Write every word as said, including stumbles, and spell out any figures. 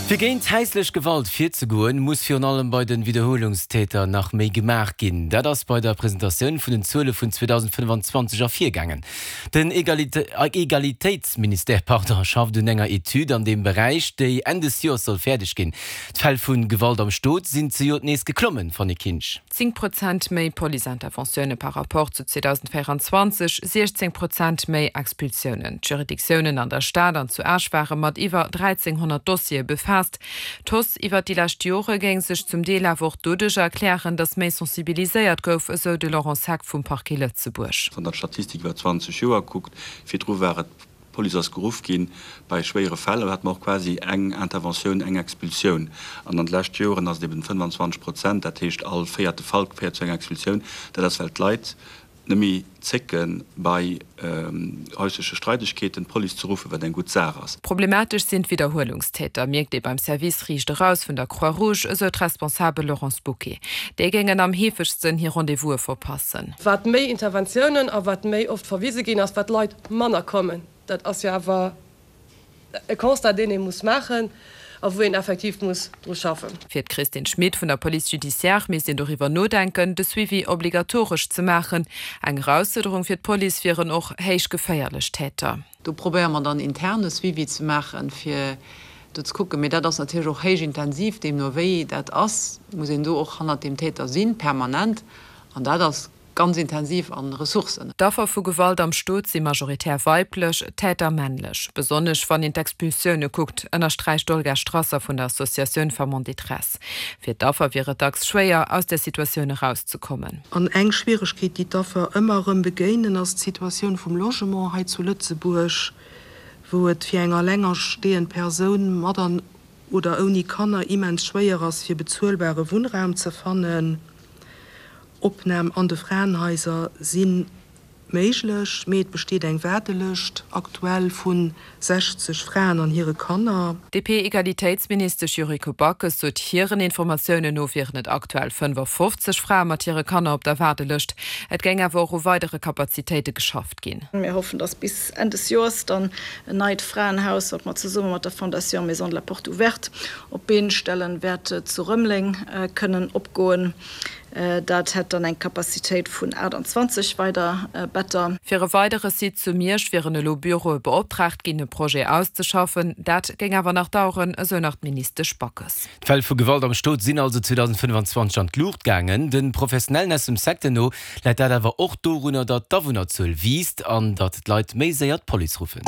Fir géint häislech Gewalt virzegoen, muss virun allem bei de Widderhuelungstäter nach méi gemaach ginn. Dat ass bei der Presentatioun vun den Zuele vun zweedausendfënnfanzwanzeg ervirgaangen. Den Egalitéitsministère pardon, schafft un enger Etüd an deem Beräich, déi Enn des Joers soll fäerdeg ginn. D'Fäll vu Gewalt am Stot sinn zejoert nees geklommen, Fanny Kinsch. Zéng Prozent méi Policeinterventioune par Rapport zu zweedausendvéierundzwanzeg, siechzéng Prozent méi Expulsiounen. D'Juridictiounen an der Stad an zu Esch ware mat iwwer dräizénghonnert Dossiere befaasst. D'Hausse iwwer déi lescht Jore géing sech zum Deel awer och doduerch erklären, datt méi sensibiliséiert gouf, esou de Laurent Seck vum Parquet Lëtzebuerg. Wann der d'Statistik iwwer zwanzeg Joer kuckt, virdru war et, d'Police ass geruff ginn bei schwéiere Fäll, do hate mer och quasi eng Interventioun, eng Expulsioun. An an de leschte Joren ass et eben fënnfanzwanzeg Prozent, dat heescht all véierte Fall féiert zu enger Expulsioun. Dat ass, well d'Leit net méi zécke bei häusleche Streidegkeeten d'Police ze ruffen, wat eng gutt Saach ass. Problematesch sinn d'Widderhuelungstäter, mierkt ee beim Service Riicht Eraus vun der Croix-Rouge, esou d'Responsabel Laurence Bouquet. Déi géingen am heefegsten hir Rendez-vouse verpassen. Wat méi Interventiounen a wat méi oft verwise ginn ass, wat Leit manner kommen. Dat ass jo awer e Constat, deen ee muss maachen a wou een effektiv muss dru schaffen. Fir d'Christine Schmit vun der Police judiciaire misst een doriwwer nodenken, de Suivi obligatoresch ze maachen. Eng Erausfuerderung fir d'Police wieren och héich geféierlech Täter. Do probéiere mer dann intern e Suivi ze maachen, fir do ze kucken. Mee dat ass natierlech och héich intensiv. Deemno wéi dat ass, muss een do och hannert deem Täter sinn, permanent. An dat ass ganz intensiv an Ressourcen. D'Affer vu Gewalt am Stot si majoritär weiblech, d'Täter männlech. Besonnesch wann een d'Expulsioune kuckt, ënnersträicht d'Olga Strasser vun der Associatioun Femmes en détresse. Fir d'Affer wier et dacks schwéier, aus där Situatioun erauszekommen. An eng Schwieregkeet, déi d'Affer ëmmer erëm begéinen, ass d'Situatioun vum Logement hei zu Lëtzebuerg, wou et fir eng alengerstehend Persoun mat an oder ouni Kanner immens schwéier ass, fir bezuelbare Wunnraum ze fannen. Opnam an de Fraenhaiser si méiglech, mee et besteet eng Waardelëscht aktuell vu sechzeg Fraen an hire Kanner. D'DP-Egalitéitsministesch Yuriko Backes sot, hiren Informatiounen no wieren et aktuell fënnefafofzeg Frae mat hire Kanner op der Waardelëscht. Et géing awer och u weidere Kapazitéite geschafft ginn. Mir hoffen, dass bis Enn des Joers dann en neit Fraenhaus, wat mer zesumme mat der Fondation Maison de la Porte Ouverte op d'Been stellen, wäert zu Rëmeleng kënnen opgoen. Dat hätt dann eng Capacitéit vun aachtanzwanzeg weider Better. Fir e weidere Site zu Miersch wieren elo Büroe beoptraagt ginn, e Projet auszeschaffen. Dat géing awer nach daueren, esou nach d'Ministesch Backes. D'Fäll vu Gewalt am Stot sinn also zweedausendfënnfanzwanzeg an d'Luucht gaangen. De Professionellen aus dem Secteur no läit dat awer och dorunner, datt d'Awunnerzuel wiisst an datt d'Leit méi séier d'Police ruffen.